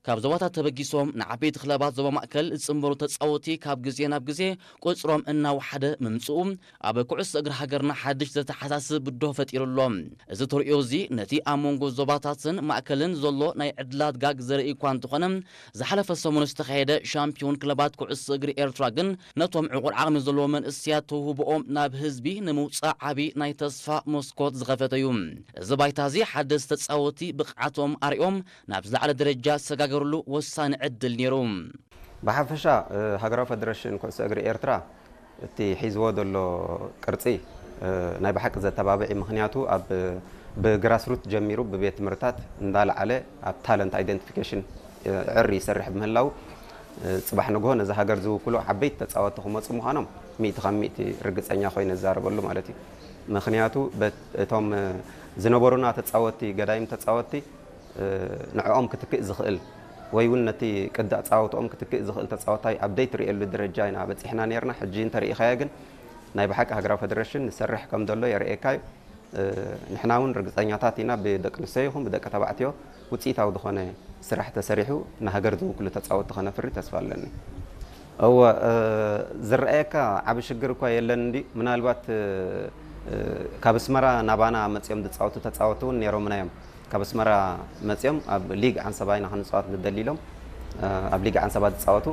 ካብ ዞባታት ተበጊሶም ንዓበይቲ ክለባት ዞባ ማእከል ዝጽንበሩ ተጻወቲ ካብ ግዜ ናብ ግዜ ቁጽሮም እናወሓደ ምምጽኡ ኣብ ኩዕሶ እግሪ ሃገርና ሓድሽ ዘተሓሳስብ ብድሆ ፈጢሩ ኣሎ። እዚ ተርእዮ እዚ ነቲ ኣብ መንጎ ዞባታትን ማእከልን ዘሎ ናይ ዕድላት ጋግ ዘርኢ እኳ እንተኾነ፣ ዝሓለፈ ሰሙን ዝተኻየደ ሻምፒዮን ክለባት ኩዕሶ እግሪ ኤርትራ ግን ነቶም ዕቑር ዓቕሚ ዘለዎ መንእሰያት ተውህቦኦም ናብ ህዝቢ ንምውጻእ ዓቢ ናይ ተስፋ መስኮት ዝኸፈተ እዩ። እዚ ባይታ እዚ ሓደስቲ ተጻወቲ ብቕዓቶም ኣርእዮም ናብ ዝለዓለ ደረጃ ዝሰጋገርሉ ወሳኒ ዕድል ነይሩ። ብሓፈሻ፣ እ፣ ሃገራዊ ፈደረሽን ኩዕሶ እግሪ ኤርትራ እቲ ሒዝዎ ዘሎ ቅርጺ፣ እ፣ ናይ ብሓቂ ዘተባብዕ እዩ። ምኽንያቱ ኣብ፣ ብግራስሩት ጀሚሩ ብቤት ትምህርታት እንዳለዓለ ኣብ ታለንት ኣይደንቲፊኬሽን፣ እ፣ ዕር ይሰርሕ ብምህላው፣ እ፣ ጽባሕ ንግሆ ነዚ ሃገር ዝውክሉ ዓበይቲ ተጻወቲ ክመጹ ምዃኖም ሚእቲ ካብ ሚእቲ ርግጸኛ ኮይነ ዝዛረበሉ ማለት እዩ። ምኽንያቱ በት-፣ እቶም፣ እ፣ ዝነበሩና ተጻወቲ፣ ገዳይም ተጻወቲ፣ እ፣ ንዕኦም ክትክእ ዝኽእል ወይ እውን ነቲ ቅዲ ኣጻወትኦም ክትክእ ዝኽእል ተጻዋታይ ኣብ ዘይትርእየሉ ደረጃ ኢና በጺሕና ነይርና። ሕጂ እንተርኢኻዮ ግን ናይ ብሓቂ ሃገራዊ ፈደረሽን ንሰርሕ ከም ዘሎ የርእየካ እዩ። እ፣ ንሕና እውን ርግጸኛታት ኢና ብደቂ ኣንስትዮ ይኹን ብደቂ ተባዕትዮ ውጽኢታዊ ዝኾነ ስራሕ ተሰሪሑ ንሃገር ዝውክሉ ተጻወትቲ ከነፍሪ ተስፋ ኣለኒ። እወ፣ እ፣ ዝረኣየካ ዓቢ ሽግር እኳ የለን እንዲ ምናልባት፣ እ፣ እ፣ ካብ ኣስመራ ናባና መጺኦም ዝጻወቱ ተጻወቱ እውን ነይሮምና እዮም። ካብ ኣስመራ መጺኦም ኣብ ሊግ ዓንሰባ ኢና ክንጻወት ንደሊ ኢሎም፣ እ፣ ኣብ ሊግ ዓንሰባ ዝጻወቱ